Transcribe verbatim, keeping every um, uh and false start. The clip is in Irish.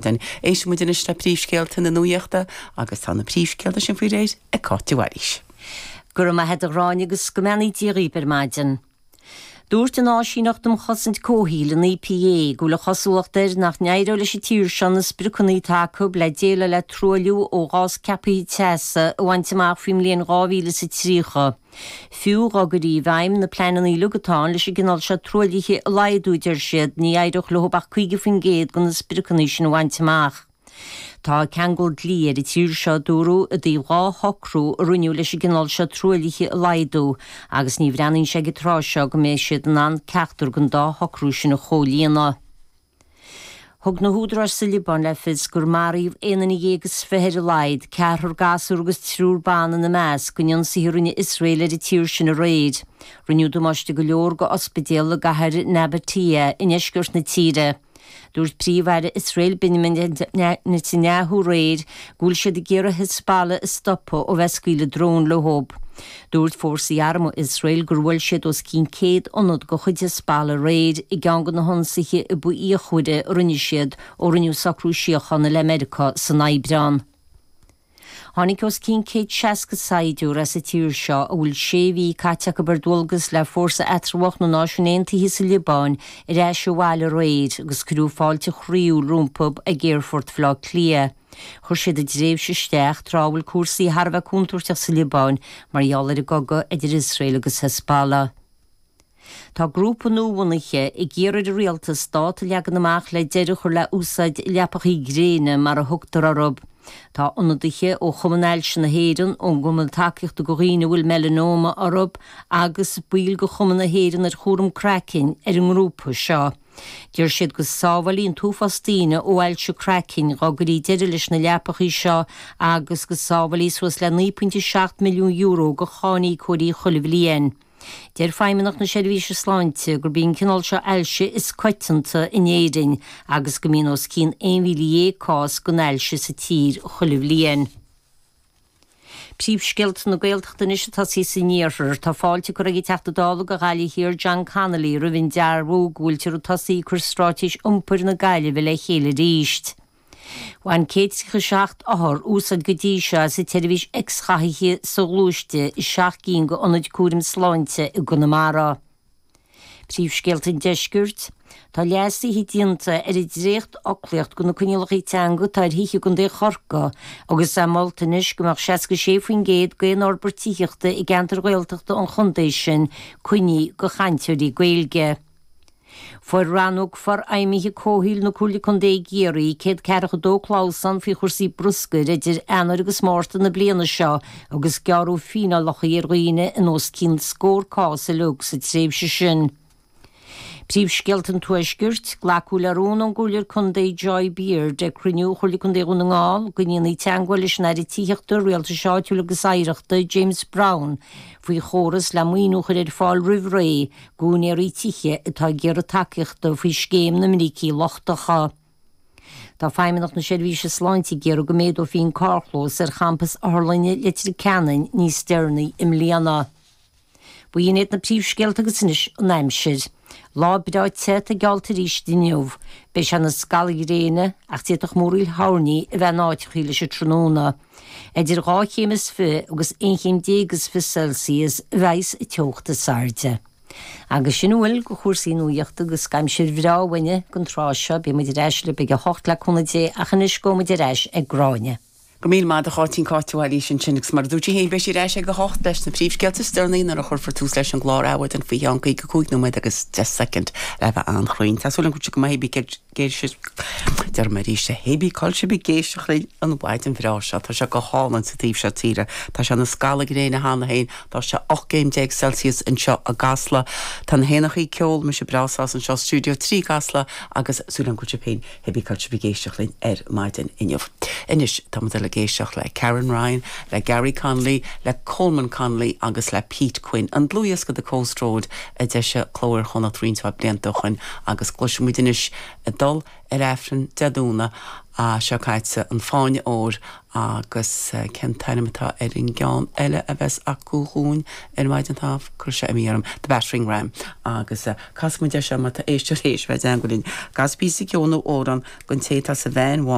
Éistfidh muid anois le príomhscéalta na nuachta agus tá na príomhscéalta sin faoi réir ag Cáit de Bhailís. Go raibh maith agat a Ghráinne agus go mbeannaí Dia dhaoibh ar maidin. Dúirt an Áisíneacht um Chosaint Comhshaoil an EPA go bhfuil an chosúlacht air nach n-éireoidh leis an tír seo na spriocanna atá acu le déileáil le truailliú ó ghás ceaptha teasa a bhaint amach faoin mbliain dhá mhíle is a tríocha. Fiú dá gcuirfí i bhfeidhm na pleananna uilig atá ann leis an gcineál seo truaillithe a laghdú, deir siad, ní éireodh leo ach caoga faoin gcéad de na spriocanna sin a bhaint amach. Tá ceangal dlí ar an tír seo, a dúradh, i dtaobh dhá shocrú a rinneadh leis an gcineál seo truaillithe a laghdú agus ní bhreathnaíonn sé ag an tráth seo go mbeidh siad in ann ceachtar den dá shocrú sin a chomhlíonadh. Thug na húdaráis sa Liobáin le fios gur maraíodh aon duine dhéag is fiche ar a laghad, ceathrar gasúr agus triúr ban ina measc, in ionsaithe a rinne Iosrael ar an tír sin aréir. Rinneadh damáiste go leor go ospidéal i gcathair Nabatieh i ndeisceart na tíre. Dúirt Príomh-Aire Iosrael Benjamin Netanyahu aréir go bhfuil siad ag iarraidh Hezbollah a stopadh ó bheith ag scaoileadh drón leo. Dúirt fórsaí armtha Iosrael gur bhuail siad os cionn céad ionad de chuid Hezbollah aréir i gceann de na hionsaithe a ba fhíochmhaire a rinne siad ó rinneadh socrú síochána le Meiriceá san Aibreán. Tháinig os cionn céad seasca saighdiúir as an tír seo a bhfuil sé mhí caite acu ar dualgas le Fórsa Eatramhach na Náisiún Aontaithe sa Liobáin ar ais abhaile aréir agus cuireadh fáilte chroíúil rompu ag Aerfort Bhaile Átha Cliath. Chuir siad a dtréimhse isteach tráth a bhfuil cúrsaí thar a bheith contúirteach sa Liobáin mar gheall ar an gcogadh idir Iosrael agus Hezbollah. Tá grúpa nuabhunaithe ag iarraidh ar an rialtas dáta a leagan amach le deireadh a chur le úsáid leapacha gréine mar a thugtar orthu. Tá ionadaithe ó Chumann Ailse na hÉireann, ón gCumann Tacaíochta do Dhaoine a bhfuil Melanoma orthu agus baill de Chumann na hÉireann ar Chúram Craicinn ar an ngrúpa seo. Deir siad go sábhálfaí an t-uafás daoine ó ailse craicinn dá gcuirfí deireadh leis na leapacha seo agus go sábhálfaí suas le naoi pointe seacht milliún euro do cháiníocóirí chuile bhliain. Deir Feidhmeannacht na Seirbhíse Sláinte gurb í an cineál seo ailse is coitianta in Éirinn agus go mbíonn os cionn aon mhíle dhéag cás den ailse sa tír chuile bhliain. Príomhscéalta na Gaeltachta anois ag tosaí san iarthar. Tá fáilte curtha ag an Teachta Dála do Ghaillimh Thiar John Connolly roimh an dearbhú go bhfuiltear ag tosaí ag cur Straitéis Iompair na Gaillimhe le chéile arís. Bhain céad tríocha seacht othar úsáid go dtí seo as an tseirbhís X-ghathaithe soghluaiste i seacht gcinn d'ionaid cúraim sláinte i gConamara. Príomhscéalta an Deiscirt. Tá leasuithe déanta ar an dréachtfhoclaíocht de na coinníollacha teanga atá ar thithe i gContae Chorcaí agus é molta anois go mbeadh seasca sé faoin gcéad d'aon fhorbairt tithíochta i gceantair Ghaeltachta an chontae sin coinnithe do chainteoirí Gaeilge. Fuair Rannóg Forfheidhmithe Comhshaoil na Comhairle Contae i gCiarraí céad ceathracha dó clamhsán faoi chúrsaí bruscair idir Eanáir agus Márta na bliana seo agus gearradh fíneálacha ar dhaoine in os cionn scór cás uilig sa tréimhse sin. Príomhscéalta an Tuaiscirt, Glacadh le rún ón gComhairleoir Contae Joy Beard ag cruinniú Chomhairle Contae Dhún na nGall go ndéanfaí teagmháil leis an Aire Tithíochta, Rialtais Áitiúil agus Oidhreachta, James Browne, faoi chóras le maoiniú a chur ar fáil roimh ré d'úinéirí tithe atá ag iarraidh tacaíochta faoi scéim na mbrící lochtacha. Tá Feidhmeannacht na Seirbhíse Sláinte ag iarraidh go méadófaí an carrchlós ar champas Otharlainne Leitir Ceanainn níos deireanaí i mbliana. B'in iad na príomhscéalta agus anois an aimsir. Lá breá te atá geallta arís inniu. Beidh sé ina scalladh gréine ach d'fhéadfadh múraíl thoirní a bheith in áiteachaí leis an tráthnóna. Idir dhá chéim is fiche agus aon chéim déag is fiche Celsius a bheas an teocht is airde. Agus sin a bhfuil de chúrsaí nuachta agus aimsir bhreá uainne don tráth seo. Beidh muid ar ais libh ag a hocht le cúnamh Dé ach anois gabhfaidh muid ar ais ag Gráinne. Go raibh míle maith agat a Cháitín, Cáit de Bhailís ansin agus mar a dúirt sí féin beidh sí ar ais ag a hocht leis na príomhscéalta is deireanaí nuair a chuirfear tús leis an gclár Adhmhaidin faoi cheann caoga cúig nóiméad agus deich soicind le bheith an-chruinn. Tá súil agam go bhfuil sibh go maith ag Déarfaidh mé arís é, hébí cá bhfuil sibh ag éisteacht linn an mhaidin bhreá seo. Tá sé go hálainn sa taobh seo tíre. Tá sé ina scalladh gréine cheana féin. Tá sé ocht gcéim déag Celsius anseo i gCasla. Tá na héanachaí ag ceol, mise breá sásta anseo Studio trí i gCasla agus súil agam go bhfuil sibh féin hébí cá bhfuil sibh ag éisteacht linn ar maidin inniu. Anois tá muid ag éisteacht le Karen Ryan, le Gary Connolly, le Coleman Connolly agus le Pete Quinn. An dlúthdhiosca The Coast Road a d'eisigh Cló Iar-Chonnacht roinnt blianta ó shin agus cloisfimid anois ag dul ar Aifreann Dé Domhnaigh seo caite an Fáinne Óir agus cén t-ainm atá ar an gceann eile a bheas acu dhúinn ar maidin tá cur sé mí orm The Battering Ram agus casfaimid é seo má tá éisteoir éis bheith linn. Cas píosa ceoil nó amhrán don té atá sa veain